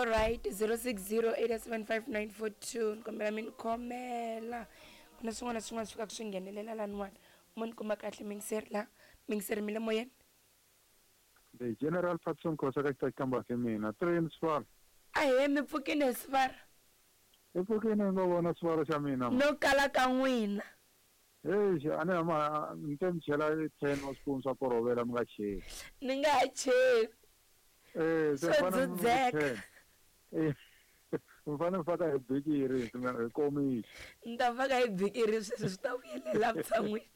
Alright, 0608755942 ni kombela mi ni khomela ku na swin'wana na swin'wana swi fikaka swi nghenelela laniwani mo ni kuma kahle mingiseri la mingiseri mi le moyeni. The General Patson Khosa ka xitaxikamba se mina. Train Sivara. Ahee mi pfukini he Sivara. Hi pfukini hi ngo vona Sivara xa mina. No kala ka n'wina. Eish a ni hama ni te mi chela 10 wa swipunu swa korovela mi nga cheli. Ni nga ha cheli. Eh se Swo mi fanele mi dzudzeka. 10. Eh mi fanele mi faka hi bikiri hi komichi. Ni ta faka hi bikiri sweswo swi ta vuyelela vutshan'wini.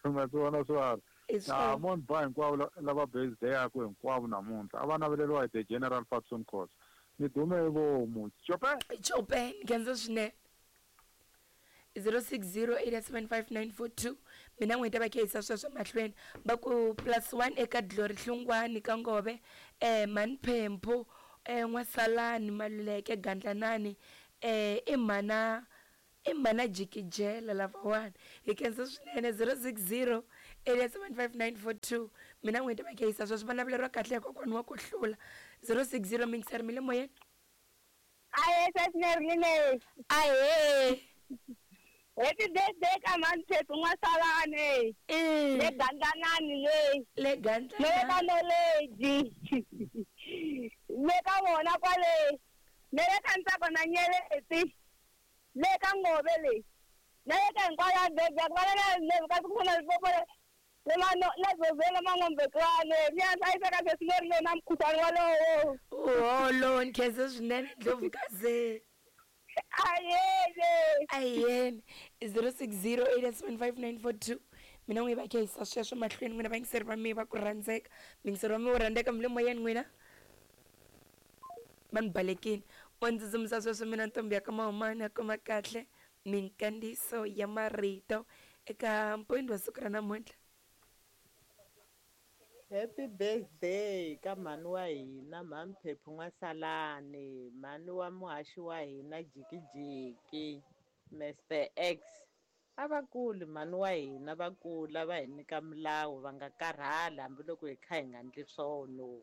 Ma swi vona Sivara. Hi swona. Mo ni ba hinkwavo lava birthday-aku hinkwavo namuntlha a va naveleriwa hi the General Patson Khosa. Ni dume hi vomu. Cope! Cope, ni khensa swinene. 0608755942 mina n'we ta va khehisa sweswo mahlweni va ku plus one eka Glory Hlungwani ka Ngove mhani Phemphu N'wasalani Maluleke Gandlanani i mhana i mhana Jikijela lavawani hi khensa swinene 0608755942 mina n'we ta va khehisa sweswo va naveleriwa kahle hi kokwani wa ku hlula 060 mixer mi le moyeni. Ahee sesi Merlin. Ahee. Happy birthday ka mhani Phephu N'wasalani. Le Gandlanani le. Le Gandlanani. Le ka Knowledge. Le ka vona kwale. Le le ka Ntsako na Nyeleti. Le ka Ngove le. Na le ka hinkwavo la birthday va le le ka ku na Limpopo le. Le ma no la Zozela Man'ombekwane. Mi ya hlayiseka sesi Merlin na mukhuhlwani walowo. Uholo ni khensa swinene Ndlovukazi. Ayene. Ayene 0608755942 mina n'wi va khehisa sweswo mahlweni n'wina vayingiseri va mi va ku rhandzeka muyingiseri wa mi wo rhandzeka mi le moyeni n'wina va ni balekini o ndzi tsutsumisa sweswo mina ntombi ya ka mahumani ya kuma kahle minkandziyiso ya marito eka mpoyini wa siku ra namuntlha. Happy birthday ka mhani wa hina mhani Phephu N'wasalani mhani wa muhaxi wa hina Jikijiki Mister X a va kuli mhani wa hina va kula va hi nyika milawu va nga karhali hambiloko hi kha hi nga ndli swono.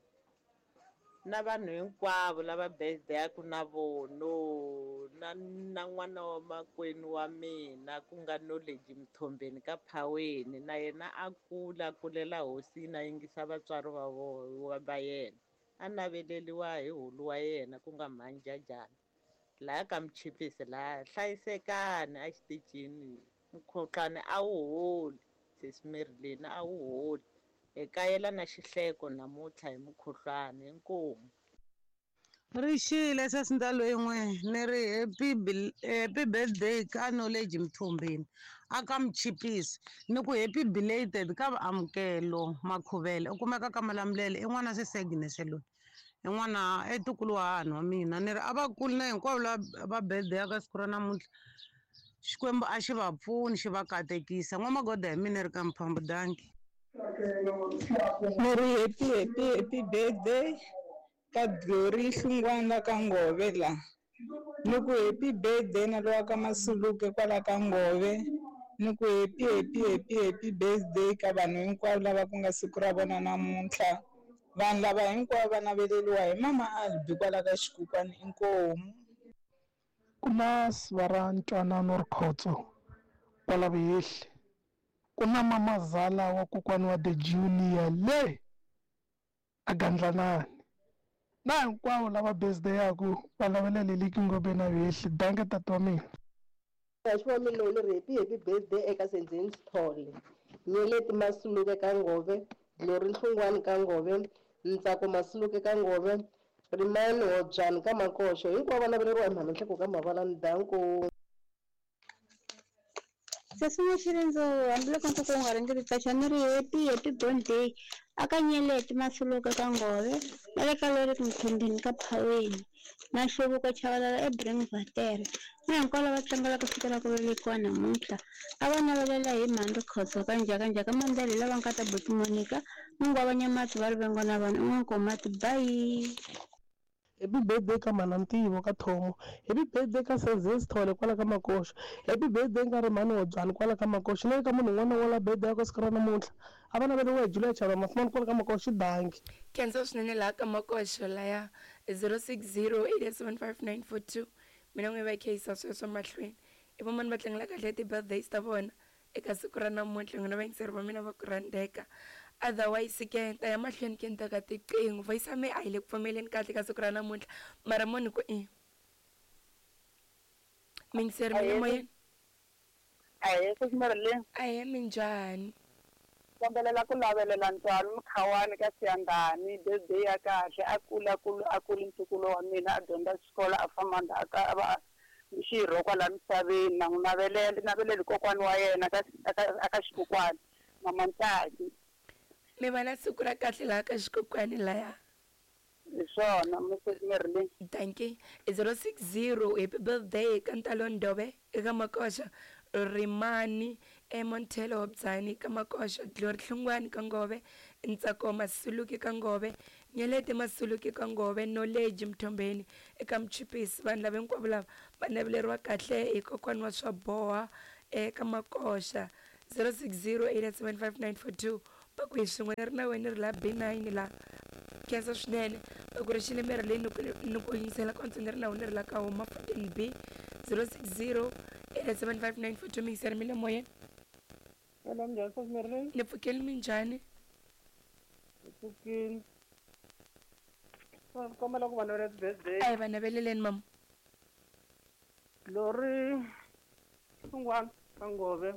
Na vanhu hinkwavo lava birthday-aku na vono na na n'wana wa makwenu wa mina ku nga Knowledge Mthombeni ka Phaweni na yena a kula a kulela hosini a yingisa vatswari va va yena a naveleliwa hi hulu wa yena ku nga mhani Jajana laya ka Mchipisi laya hlayisekani a xitichini mukhuhlwani a wu holi sesi Marilyn a wu holi. Hi kayela na xihleko namuntlha hi mukhuhlwani. Inkomu. Ri xile sesi Ndalwin'we ni ri happy happy birthday ka Knowledge Mthombeni a ka Mchipisi ni ku happy belated ka Amukelo Makhuvele u kumeka ka Malamulele i n'wana sesi Agnes loyi i n'wana i ntukulu wa hahani wa mina ni ri a va kuli na hinkwavo lava va birthday ka siku ra namuntlha Xikwembu a xi va pfuni xi va katekisa n'wamagoda hi mina ri ka Mphambu dankie. Ni ri happy happy happy birthday ka Glory Hlungwana la ka Ngove la ni ku happy birthday na lowa ka Masuluke kwala ka Ngove ni ku happy happy happy happy birthday ka vanhu hinkwavo lava ku nga siku ra vona namuntlha vanhu lava hinkwavo va naveleliwa hi mama Albi kwala ka Xikukwani inkomu. Ku na siva ra Ntwanano Rikhotso kwala Vuhehli. Ku na mamazala wa kokwani wa The Junior le a Gandlanani. Na hinkwavo lava birthday-aku va lavela Leliki Ngobe na Vuhehli. Dankie tati wa mina. Muhaxi wa mina ni ri happy happy birthday eka Senzeni Sithole, Nyeleti Masuluke ka Ngove, Glory Nhlungwani ka Ngove, Ntsako Masuluke ka Ngove, Rimani Hobyani ka Makoxo, hinkwavo va naveleriwa hi Mhani Nhleko ka Mavalani. Danko. Sesi N'waxirindzu hambiloko nkoka wu nga ringeti qacha ni ri happy happy born day aka Nyeleti Masuluke ka Ngove na le ka Lorick Mthombeni ka Phaweni na Nhluvuko Chavalala eBringvater na hinkwavo lava tlangelaka siku ra ku velekiwa namuntlha a va navelela hi mhani Rikhotso ka Njhakanjhaka Mandela hi lava nkata buti Monica Mungwava Nyamatsi va Rivengo na vanhu N'wankomati bye. Happy birthday ka mhana Ntivo ka Thomo. Happy birthday ka Senzeni Sithole kwala ka Makoxo. Happy birthday ka Rimhani Hobyani kwala ka Makoxo. Na le ka munhu un'wana na un'wana la birthday yakwe siku ra namuntlha. A va naveriwe hi Julia Chava Mafumani kwala ka Makoxo. Dankie. Khensa swinene laha ka Makoxo laya. 060 875 942. Mina n'we va kheyisa sweswo mahlweni. I vomani va tlangela kahle ti-birthdays ta vona eka siku ra namuntlha, n'wina vayingiseri va mina va ku rhandzeka. Otherwise ke ni ta ya mahlweni ke ni teka tiqingho. Voice ya me a yi le ku pfumeleni kahle ka siku ra namuntlha, mara mo ni ku i miyingiseri mi le moyeni. Ahee, Sesi Ahee, minjhani? Kombelela ku lavelela ntswalo Mkhawani ka Siyandhani birthday ya kahle, a kula kula a kuli ntukulu wa mina, a dyondza xikolo, a famba ndzhaka, a va xirho kwala misaveni. Na n'wi navelela, naveleli kokwani wa yena ka aka xikokwani, mama Ntsaki. Mi va na siku ra kahle laha ka xikokwani laya. Hi swona, Mrs Merlin. Dankie. 060 happy birthday ka Ntalo Ndobe eka Makoxa, Rimani eMontelo Hobzani ka Makoxa, Glory Hlungwani ka Ngove, Ntsako Masuluki ka Ngove, Nyeleti Masuluki ka Ngove, Knowledge Mthombeni eka Mchipisi. Vanhu lava hinkwavo lava va naveleriwa kahle hi kokwani wa swa boha eka Makoxa. 060 875 va ku hi swin'we ni ri na wena ni ri la B9 la. Khensa swinene va ku ri xile miri leyi ni ku yingisela konse ni ri na wena ni ri la ka huma 14B. 060 875 942. Miyingiseri mi le moyeni. Hello, minjhani Sesi Merlin? Ni pfukeli, minjhani? Hi pfukile. Kombela ku va navelela ti-birthday. A hi va naveleleni mama. Lori Hlungwani ka Ngove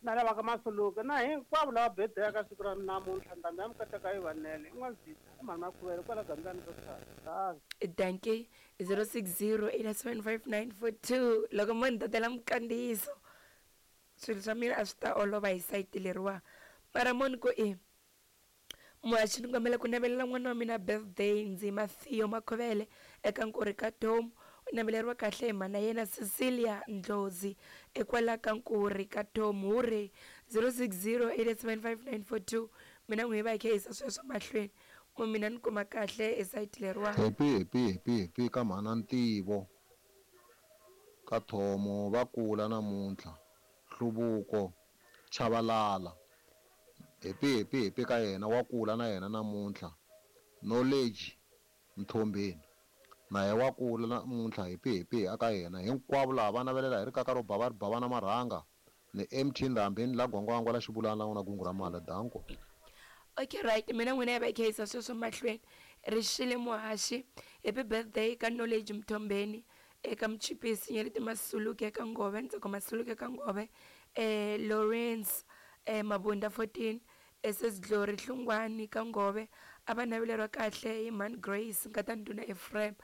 na lava ka Masuluke na hinkwavo lava birthday ka siku ra namuntlha, ndhambi ya mikateka yi vanele. I n'wanzisa i mhani Makhuvele kwala Gandlani ro tshata. Dankie. 060 875 942. Loko mo ni tatela minkandziyiso, swilo swa mina a swi ta olova hi sayiti leriwa. Mara mo ni ku i muhaxi, ni kombela ku navelela n'wana wa mina birthday, Ndzima Theo Makhovele eka Nkuri ka Tomu. U naveleriwa kahle hi mhana yena Cecilia Ndlozi ekwala ka Nkuri ka Tomu. Hure 060 875 942. Mina n'wi va hi kha yisa sweswo mahlweni mo mina ni kuma kahle esayiti leriwa. Happy happy happy happy ka mhana Ntivo ka Thomo, va kula namuntlha. Hluvuko Chavalala, happy happy happy ka yena, wa kula na yena namuntlha. Knowledge Mthombeni na ye wa kula namuntlha, happy happy aka yena. Hinkwavo lava va navelela hi rikaka ro bava ri bava na marhanga ni MT Ndhambi la Gwangwangwa la Xivulana la n'wana gungu ra mali. Danko. Okay, right, mina n'wina ya va kheyisa sweswo mahlweni. Rixile muhaxi, happy birthday ka Knowledge Mthombeni eka Mchipisi, Nyeleti Masuluke eka Ngove, Ntsako Masuluke eka Ngove, Lawrence Mabunda 14, SS Glory Hlungwani ka Ngove. A va naveleriwa kahle hi Man Grace nkata Ndhuna Ephraim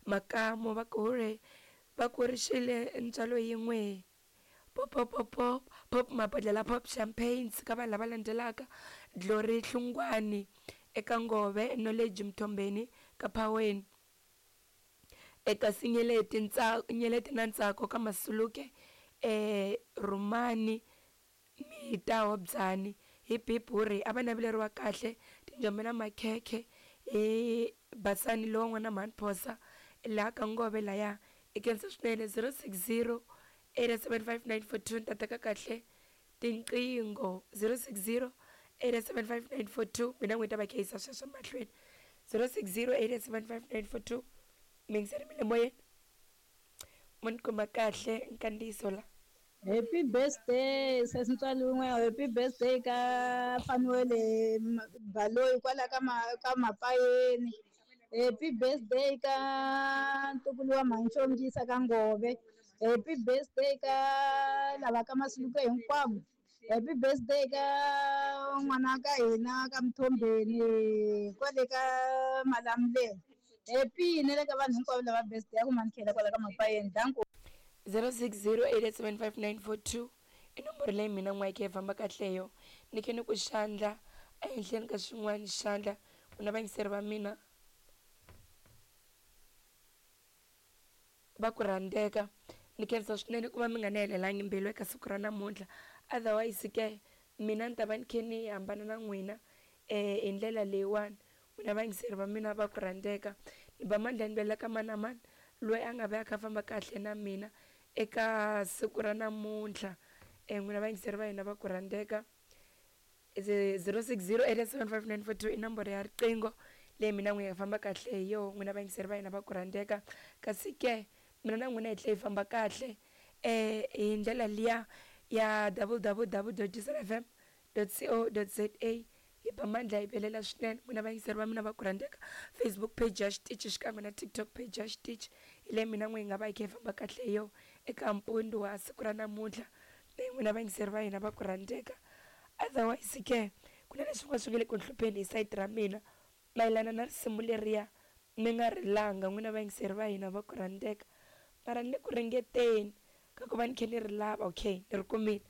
Makamu. Va ku hure va ku rixile ntswalo yin'we. Pop pop pop pop pop mabodlela pop champagnes ka vanhu lava landzelaka: Glory Hlungwani eka Ngove, Knowledge Mthombeni ka Phaweni, eka Sinyeleti Nyeleti na Ntsako ka Masuluke, Rumani Mita Hobzani. Hi biburi a va naveleriwa kahle tinjombe na makhekhe hi Basani lowa n'wana mhani Phosa laha ka Ngove laya. I khensa swinene. 060 875 942. Ni ta teka kahle tinqingho. 060 875 942. Mina n'wi ta va kheyisa sweswo mahlweni. 060 875 942. Miyingiseri mi le moyeni, mo ni kuma kahle nkandziyiso la. Happy birthday sesi Ntswalo wun'we, happy birthday ka Fanuele Baloyi kwala ka ka Mapayeni. Happy birthday ka ntukulu wa Mhani ka Ngove. Happy birthday ka lava ka Masuluke hinkwavo. Happy birthday ka n'wana ka hina ka Mthombeni kwale ka Malamulele. Happy na le ka vanhu hinkwavo lava birthday ya ku Mhani kwala ka Mapayeni. Danko. 060 875 942 i nomboro leyi mina n'wayeke yi famba kahle yo. Ni khe ni ku xandla ehenhleni ka xin'wana xandla ku na vayingiseri va mina va ku rhandzeka. Ni khensa swinene ku va mi nga ni helelangi mbilu eka siku ra namuntlha. Otherwise ke mina ni ta va ni khe ni hambana na n'wina hi ndlela leyiwani. N'wina vayingiseri va mina va ku rhandzeka, ni ba mandla ni velela ka mani na mani loyi a nga va a kha a famba kahle na mina eka siku ra namuntlha. N'wina vayingiseri va hina va ku rhandzeka, 060 875 942 i nomboro ya riqingho. Leyi mina n'wina hi famba kahle hi yoho n'wina vayingiseri va hina va ku rhandzeka. Kasi ke mina na n'wina hi tlhela hi famba kahle hi ndlela liya ya www.dieselfm.co.za hi ba mandla hi belela swinene n'wina vayingiseri va mina va ku rhandzeka. Facebook page ya xitichi xikan'we na TikTok page ya xitichi hi leyi mina n'we hi nga va hi kha hi famba kahle hi yoho eka mpundzu wa siku ra namuntlha. N'wina vayingiseri va hina va ku rhandzeka. Otherwise ke ku na leswi swi nga le ku hlupheni hi sayiti ra mina mayelana na risimu leriya mi nga rilanga n'wina vayingiseri va hina va ku rhandzeka, mara ni le ku ringeteni ka ku va ni kha ni ri lava. Okay, ni ri kumile.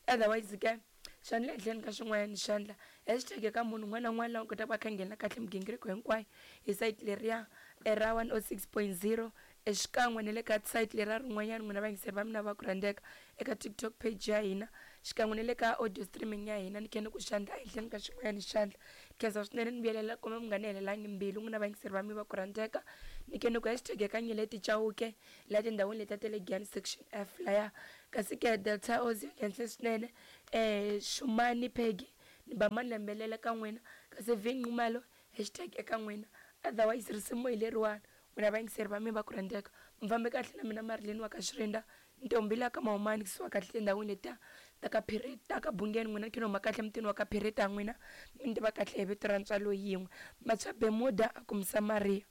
Otherwise ke xandla ehenhleni ka xin'wanyana xandla hashtag eka munhu un'wana na un'wana loyi a kotaka ku va kha nghena kahle migingiriko hinkwayo hi sayiti leriya ra 106.0 xikan'we na le ka sayiti leriya rin'wanyana n'wina vayingiseri va mina va ku rhandzeka eka TikTok page ya hina xikan'we na le ka audio streaming ya hina. Ni kha ni ku xandla ehenhleni ka xin'wanyana xandla. Khensa swinene ni vuyelela kumbe mi nga ni helelangi mbilu n'wina vayingiseri va mina va ku rhandzeka. Ni kha ni ku hashtag eka Nyeleti Chauke laha tindhawini letiya ta le Giyani section F laya. Kasi ke Delta Ozi khensa swinene Xumani Peggy ni ba malembelela ka n'wina. Kasi V Nxumalo hashtag eka n'wina. Otherwise risimu hi leriwani n'wina vayingiseri va mina va ku rhandzeka. Mi fambe kahle na mina Marilyn wa ka Xirinda ntombi la ka Mahumani kusuka kahle tindhawini letiya ta ka Phiri ta ka Bungeni. N'wina ni kha ni huma kahle mutini wa ka Phirita n'wina mi ni tiva kahle hi vito ra ntswalo yin'we Matshwa Bermuda a ku Msamaria.